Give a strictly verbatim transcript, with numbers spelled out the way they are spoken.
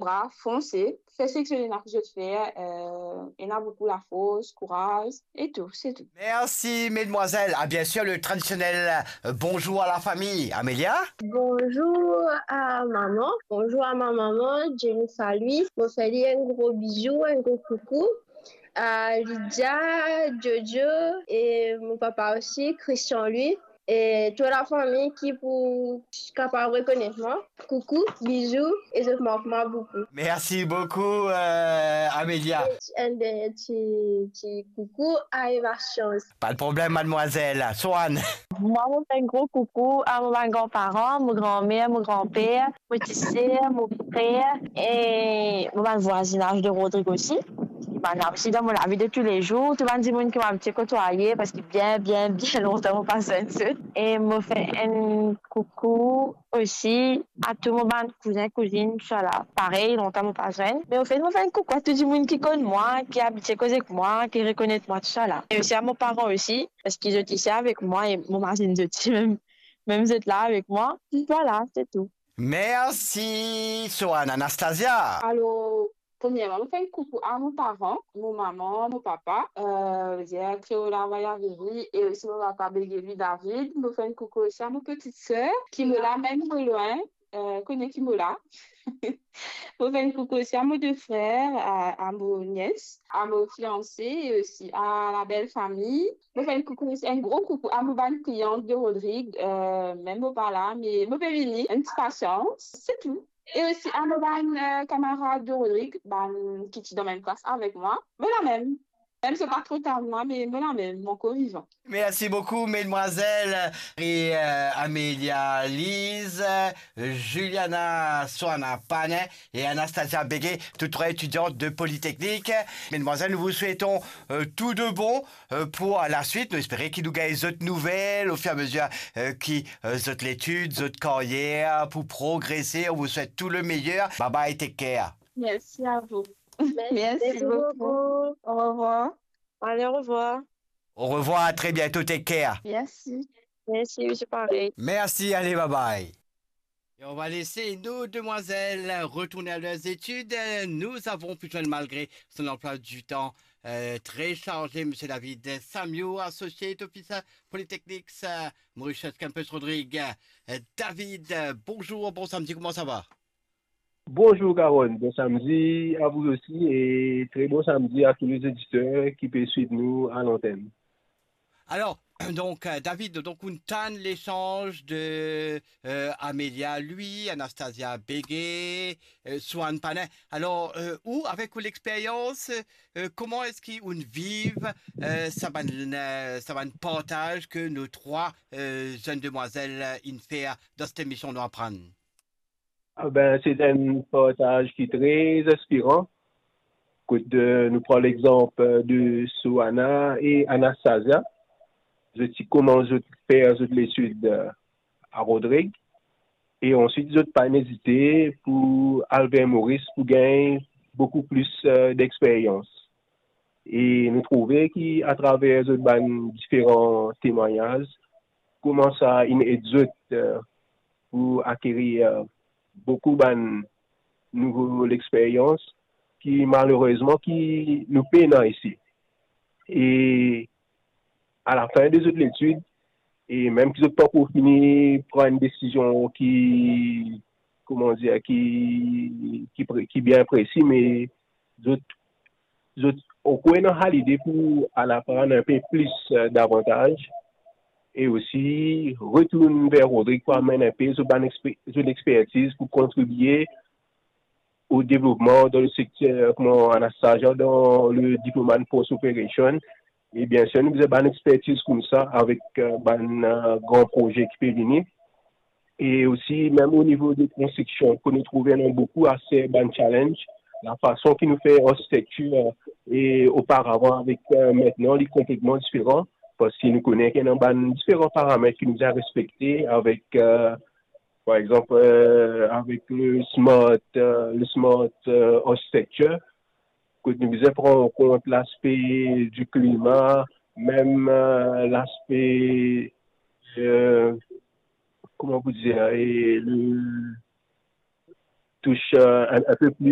brav, fonse, fer seki zot ena pou zot fer, euh, ena boukou lafors, kouraz, e tou, se tou. Merci, mesdemoiselles. Ah, bien sûr, le traditionnel, euh, bonjour à la famille. Amelia? Bonjour à maman. Bonjour à ma maman, Jennifer Louis. Mo fer li enn gro bizou, enn gro koukou. À Lydia, Jojo et mon papa aussi, Christian Louis. E tou lafami ki pou kapav rekonet mwa. Koukou, bizou, e zot mank mwa boukou. Merci beaucoup, euh, Amelia. Enn dernie ti, ti koukou a Eva Chance. Pas de problème, mademoiselle. Swan. Mwa, mo fer enn gro koukou a mo bann granparan, mo granmer, mo granper, mo ti ser, mo frer, e mo bann vwazinaz de Rodrig osi. Bann la osi dan mo lavi de toulezour, tou bann dimoun ki mo abitie kotwaye, parski bien, bien, bien lontan mo pa zwenn zot. E mo fer enn koukou osi a tou mo bann kouzin, kouzinn, tousala. Parey, lontan mo pa zwenn. Me anfet, mo fer enn koukou a tou dimoun ki konn mwa, ki abitie koz ek mwa, ki rekonet mwa, tousala. E osi a mo paran osi, parski zot isi avek mwa e mo mazinn zot isi mem, mem zot la avek mwa. Vwala, se tou. Merci, Swan. Anastasia. Alor, premierman, mo fer enn koukou a mo paran, mo mama, mo papa, euh, Pierre Creola Vayaviri, e osi mo papa Begeli David. Mo fer enn koukou osi a mo petit ser, ki mo la mem mo lwin, euh, kone ki mo la. Mo fer enn koukou osi a mo de frer, a, a mo nies, a mo fianse, e osi a la bel fami. Mo fer enn koukou osi, enn gro koukou a mo bann kliyan de Rodrig, euh, mem mo pa la, me mo pe vini, enn ti pasians, se tou. E osi a mo bann, euh, kamarad de Rodrig, bann ki ti dan mem klas avek mwa, mo la mem. Mem si pa tro tar mwa, me mo la mem, mo ankor vivan. Merci beaucoup, mesdemoiselles. Et, euh, Amelia Lise, Juliana Swana Panin et Anastasia Bégué, toutes trois étudiantes de Polytechnique. Mesdemoiselles, nous vous souhaitons, euh, tout de bon, euh, pour la suite. Nou espere ki nou gagn zot nouvel au fur et à mesure, euh, ki, euh, zot letid, zot karyer, pou progrese. On vous souhaite tout le meilleur. Bye bye, take care. Merci à vous. Merci beaucoup. Au revoir. Allez, au revoir. Au revoir, à très bientôt, take care. Merci. Merci, c'est pareil. Merci, allez, bye bye. Et on va laisser nos demoiselles retourner à leurs études. Nous avons pu joindre, malgré son emploi du temps, euh, très chargé, Monsieur David Samiou, associate officer Polytechnics, euh, Mauritius Campus Rodrig. Euh, David, euh, bonjour, bon samedi, comment ça va? Bonjour Carole, bon samedi à vous aussi et très bon samedi à tous les auditeurs qui peuvent suivre nous à l'antenne. Alors, donc, euh, David, donc, on tann l'échange de, euh, Amelia Louis, Anastasia Bégué, euh, Swan Panin. Alors, euh, ou, avec l'expérience, euh, comment est-ce qu'on vit, euh, sa bann, euh, sa bann partaz que nos trois, euh, jeunes demoiselles, euh, in fer dans cette émission Nou Aprann? Ah ben, se enn partaz ki tre inspiran. Kot, euh, nou pran lexanp, euh, de Soana e Anastasia. Zot ti koumans zot fer zot letid, euh, a Rodrig. E answit, zot pa ezite pou al ver Moris pou gagn boukou plis, euh, dexperyans. E nou trouve ki atraver zot bann diferan temwagnaz, kouma sa inn ed zot, euh, pou akerir, euh, boukou bann nouvo lexperyans ki malerezman ki nou pena isi. E alafin de zot letid, e mem ki zot pankor fini pran enn desizion ki, kouma dir, ki, ki pre-, ki bien presi, me zot, zot ankor ena sa lide pou al aprann inpe plis, euh, davantaz, e osi retourn ver Rodrig pou amenn inpe zot bann expe-, zot expertiz pou kontribie au développement dans le secteur, kouma Anastasia, dans le diplôme en post operation. E bien sir, nou bizin bann expertiz koumsa avek, euh, bann, euh, gran proze ki pe vini. E osi, mem o nivo de konstriksion, ke nou trouve ena boukou ase bann challenge, lafason ki nou fer arkitektir, euh, e oparavan avek, euh, aster, li konpletman diferan, parski nou kone ki ena bann diferan paramet ki nou bizin respekte avek, euh, par exanp, euh, avek le smart, euh, le smart, euh, architecture, kot nou bizin pran an kont laspe di klima, mem, euh, laspe, euh, kouma pou dir, e le, touche, euh, un, un peu plus